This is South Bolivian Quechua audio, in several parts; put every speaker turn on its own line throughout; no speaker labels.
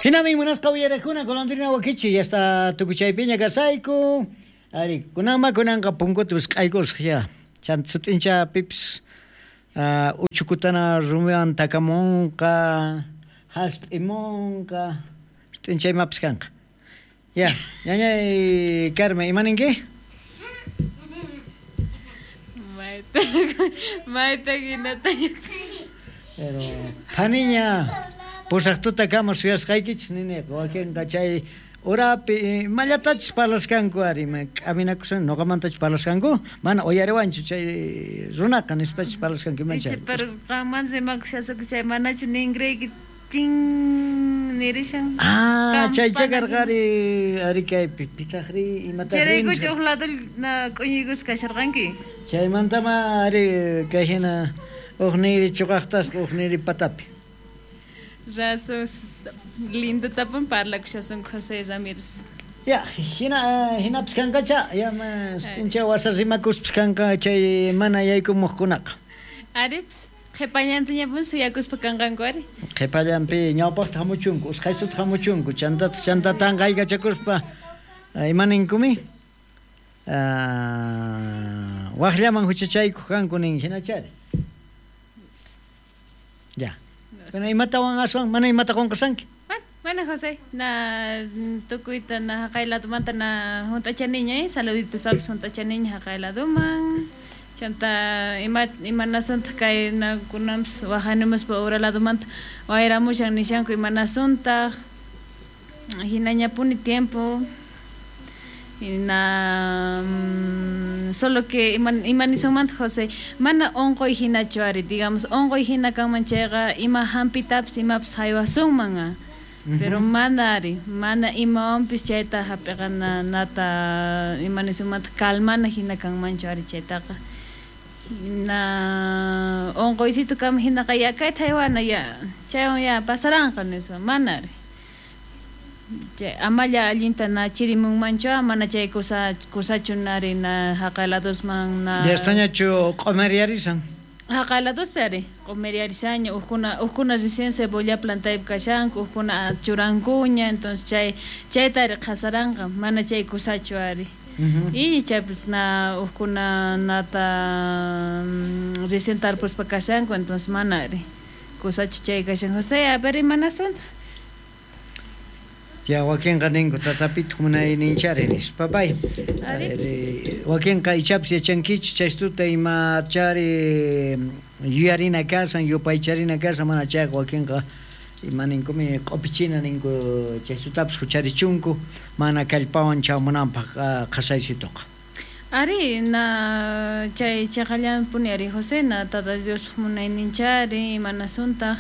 Hinami munasqa uyarakuna golondrina wakichi ya está tukuchaypiña kasayku. Ari, kunanma kunanqa punkuta wisq'aykusaq ya. Chanta sut'incha pipis uchukutana rumiwan takamunqa, hasp'imunqa, sut'incha imapis kanqa. Ya, ñañay Carmen, ima ninki?
Mayta, mayta hinata.
Pero phaniña pusaq tutakama suyasqaykichis niniqa wakinqa chay urapi imallatachus parlasqanku ari ima k'aminakusan noqamantachus parlasqanku mana uyariwanchu chay runaqa nispachus parlasqanku imacha.
Icha pero qanman rimakushasqaku chay manachu ningriyki chin nirishan.
Ah, chaycha karqa ari ari kaypi pitaqri imataqri.
Chayraykuchu uj lado na k'uñuykusqa kasharqanki.
Chaymantama ari kay hina uj niri chuqaqtasqa uj niri patapi.
Razón, lindo tapun parlakushasunku José Ramírez.
Ya, hina hinapis kanqacha, ya incha wasa rimakuspis kanqa chay mana yaykumuqkunaqa.
Aripis, qhipallantañapun suyakuspa kanqanku ari.
Qhipallanpi ñawpaqta hamuchunku, usqhaysuta hamuchunku, chantata chantata tanqaykachakuspa ima ninkumi? Waqllaman huchachaykuq kanku nin hinachari. Ya. Bueno, imatawan aswan mana imata qunqasanki?
Mana José, na tukuyta na haqay ladumanta na hunt'achaniña, saluditos apis hunt'achaniña haqay laduman. Chanta ima imanasuntaq kay na kunanpis waqanimuspa ura ladumanta wayramushan nishanku imanasuntaq. Hinañapuni tiempo. Na solo que imanisunmanta José, mana unquy hinachu ari, digamos unquy hina kanman chayqa ima hampitapis imapis haywasunman, pero mana ari, mana imawanpis chayta hap'iqana nata imanisunmanta calmana hina kanmanchu ari chaytaqa. Na unquysitu kanman hinaqa ya kayta haywana ya chaywan ya pasaranqa nispa, mana ari. Chay amalla allinta na chirimunmanchu mana chay kusa kusachu nari na haqay ladosman na
Ya estañachu q'umiriyarisan.
Haqay ladospi ari q'umiriyarisaña uqkuna uqkuna recién cebolla plantaypi kashanku uqkuna churankuña entonces chay chayta ari qhasaranqa mana chay kusachu ari. Y chaypis na uqkuna nata recién tarpuspa kashanku entonces mana ari kusachu chay kashan José a ver imanasuntaq.
Ya wakinqa ninku tatapituq munayninchari nispa pay. Wakinqa ichapis yachankichis chaystuta imachari yuyarina kasan yupaycharina kasan mana chayqa wakinqa ima ninkumi q'upichina ninku chaystutapis hucharichunku mana kallpawan chamunanpaq qhasaysituqa.
Ari na chay chaqallanpuni ari José na Tata Dios munayninchari imanasuntaq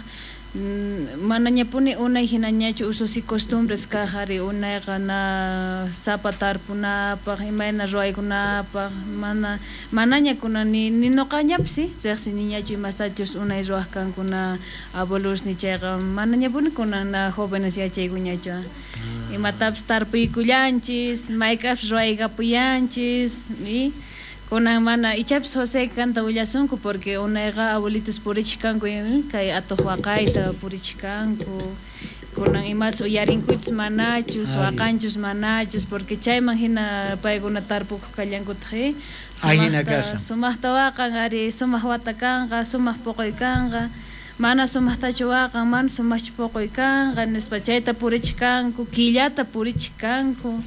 manañapuni unay hinañachu usos y costumbres kaq ari unayqa na sapa tarpunapaq imayna ruwaykunapaq mana manaña kunan ni nuqañapis riqsiniñachu imastachus unay ruwaq kankuna abuelosni chayqa manañapuni kunan na jóvenes yachaykuñachu imatapis tarpuykullanchis mayk'apis ruwaykapuyanchis y kunan mana ichapis José kanta willasunku porque unayqa abuelitos purichik kanku kay atuq waqayta purichik kanku kunan imachus uyarinkuchus manachus waqanchus manachus porque chayman hina paykuna tarpukuq kallankutaq sumaqta waqan ari sumaq wata kanqa sumaq puquy kanqa mana sumaqtachu waqan mana sumaqchu puquy kanqa nispa chayta purichik kanku killata purichik kanku.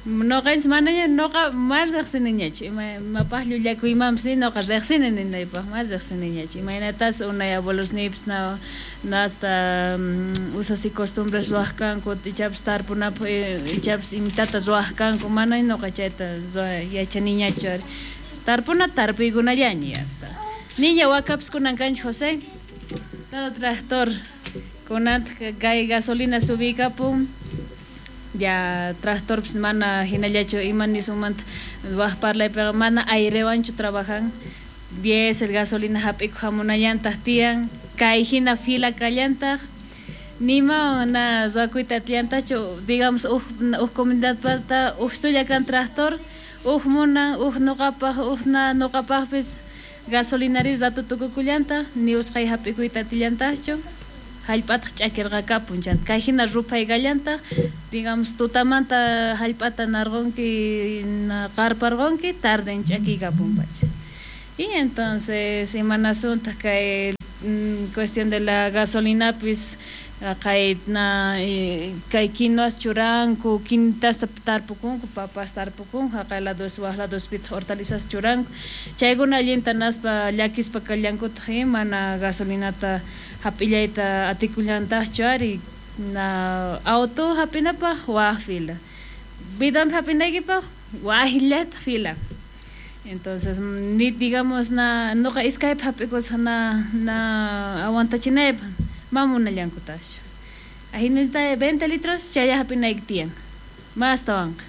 Noqanchis manaña noqa mana riqsiniñachu imapaq llullakuymanpis noqa riqsini ninaypaq mana riqsiniñachu imaynatas unay abuelosniypis na hasta usos y costumbres ruwaq kanku ichapis tarpunapaq ichapis imitata ruwaq kanku mana noqa chayta yachaniñachu ari tarpuna tarpuykunallaña ya está. Niña wakapis kunan kanchik José todo tractor kunantaq kay gasolina subiykapun ya tractorpis mana hinallachu ima nisunmanta waq parlaypiqa mana airewanchu trabajan diésel gasolina hap'ikuq hamunallantaq tiyan kay hina fila kallantaq nima na ruwakuyta atillantachu digamos uj comunidadpata uj kan tractor uj munan uj nuqapaq uj na nuqapaqpis gasolinari rato tukukullantaq ni usqhay hap'ikuyta atillantaqchu Jallp'ataq ch'akirqakapun chanta kay hina ruphaykallantaq, digamos tutamanta jallp'ata narqunki qarparqunki tarden ch'akiykapun pacha. Y entonces imanasuntaq kay cuestión de la gasolinapis kay na kay quinoas churanku, quintasta tarpukunku, papas tarpukunku, jaqay lados waj ladospitaq hortalizas churanku, chaykuna allinta naspa llakispa kallankutaq mana gasolinata hap'illayta atikullantaqchu ari na auto hap'inapaq waj fila, bidonpi hap'inaykipaq wajllataq fila. Entonces ni digamos na nuqa iskaypi hap'ikusaq na na aguantachinaypaq mamunallankutaqchu. Ajinata 20 litros chaylla hap'inayki tiyan, mastawanqa.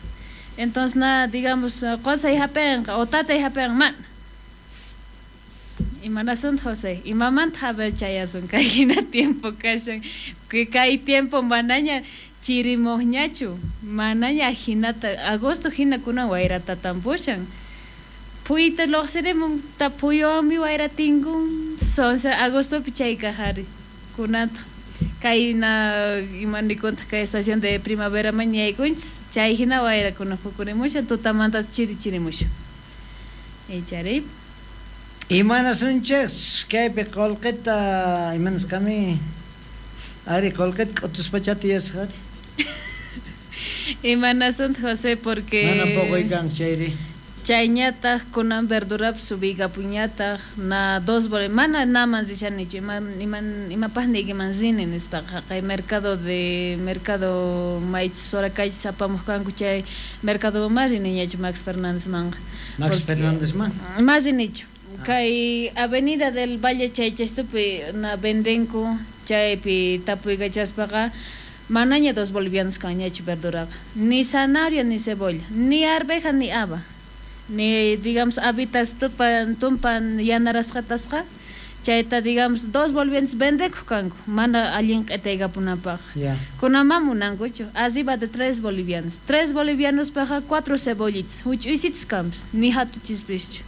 Entonces na digamos qusay hap'inqa o tatay hap'inqa mana. Imanasuntaq José, imamanta haber chayasun kay hina tiempo kashan, kay tiempo manaña chirimuqñachu, manaña ajinata agosto hina kunan wayrata tampushan. Phuyta lluqsirimun ta phuyuwanmi wayra tinkun, sonsa agostopi chay kaq ari kunantaq kay na imanikuntaq kay estación de primavera man yaykunchis chay hina wayrakuna phukurimushan tutamanta chiri chirimushan. Ichari.
Imanasunchis kaypi qullqita imanasqami ari qullqita k'utuspachata yasqa ari.
Imanasuntaq José porque
mana puquy kan chayri.
Chayñataq kunan verdurapis subiykapuñataq na dos mana naman rishanichu imapaq niykiman rini nispaqa kay mercado de mercado maychus Soracaychis apamuq kanku chay mercado mas riniñachu Max Fernándezmanqa.
Max Fernándezman?
Mas rinichu. Kay Avenida del Valle chaychastupi na vendenku chaypi tapuykachaspaqa manaña 2 bolivianos kanñachu verduraqa, ni zanahoria ni cebolla, ni arveja ni haba. Ni digamos habitas tupan tumpan yanarasqatasqa chayta digamos 2 bolivianos vendekuq kanku mana allin q'itaykapunapaq. Kunan munankuchu arriba de 3 bolivianos, 3 bolivianospaqa 4 cebollitas huch'uysitas kanpas ni hatuchispischu.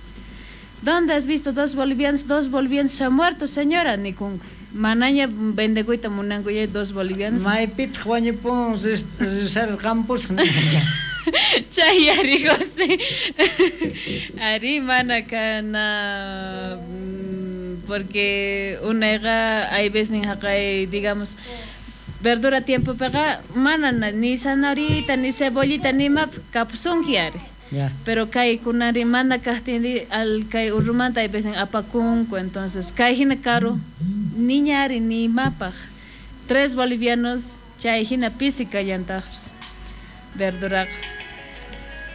¿Dónde has visto 2 bolivianos? 2 bolivianos se ha muerto señora nikunku. Manaña vendekuyta munanku ya 2 bolivianos.
Maypitaq wañupun risarqampusqa.
Chay ari José. Ari mana kana porque unayqa hay veces jaqay digamos verdura tiempopiqa mana ni zanahorita ni cebollita ni imap kapusunki ari. Pero kay kunari mana kaqtinri al kay urrumanta hay veces apakunku, entonces kay hina caro niña ari ni imapaq 3 bolivianos chay hina pisi kallantaqpis verduraqa.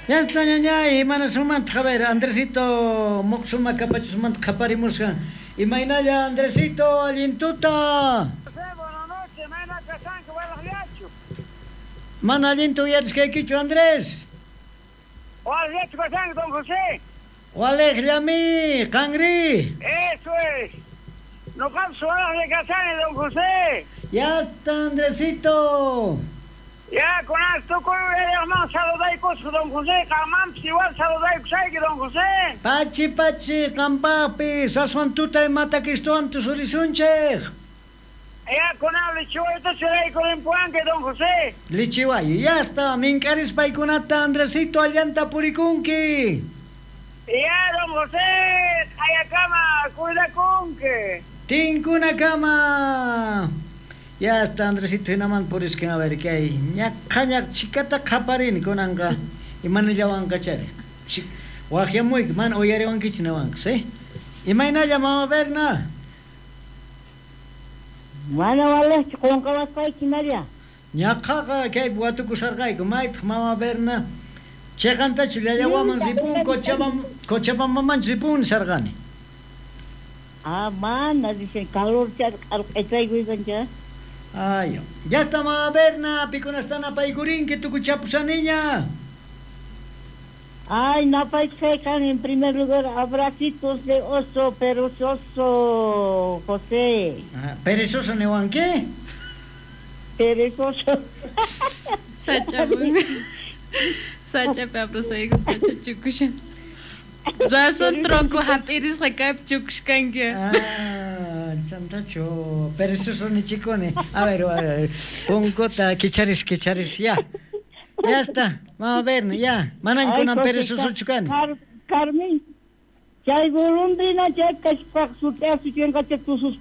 Ya está ñañay, imanasumanta a ver, Andresito muqsuma kapachusmanta qhaparimusqa. Imaynalla Andresito, allintuta.
Buenas noches, mayna kashanki walaqllachu.
Mana allinta uyarisqaykichu Andrés.
Walaqllachu kashanki don José.
Walaqllami, qanri.
Eso es. Nuqapis walaqlla kashani don José.
Ya está Andresito.
Ya, con esto con el saludaykusqa don José, qanmanpis igual saludaykusayki don José.
Pachi pachi qampaqpis aswan tutay matakistuwan tusurisunchik.
Ya, con lichiwayta churaykurimpuwanki don José.
Lichiwayu, ya está, mink'arispaykunata Andresito allanta purikunki.
Ya, don José, q'ayakama cuidakunki.
Tinkunakama. Ya está Andresito hinaman puriskin a ver qué hay. Ñaqañaq chikata qhaparini kunanqa imanallawanqa chari. Waqyamuyki mana uyariwankichu niwanqa, ¿sí? Imaynalla mama Berna?
Mana walaqchu qunqawasqayki Maria.
Ñaqaqa kaypi watukusarqayku maytaq mama Berna chiqantachu llallawaman ripun Cochabambamanchu ripun nisarqani.
Ah, mana dicen calor q'arq'aychaykuykancha.
Ay, ya está mama Berna, pikunastan apaykurinki tukuchapusaniña.
Ay, napaykusaykan en primer lugar abracitos de oso perezoso, José.
Ah, perezoso niwanki?
Perezoso.
Sacha, sachapi abrasayku sacha chukushan. Razón tronco hap'irisqa kaypi chukushkanki.
Ah, Chantachu perezoso nichikuni. A ver, a ver, punkuta kicharis, kicharis, ya. Ya está, vamos a ver, ya. Manañ kunan perezosochu kani.
Carmen, chay golondrina chay kashpaq sut'asu chinqacha tususpa.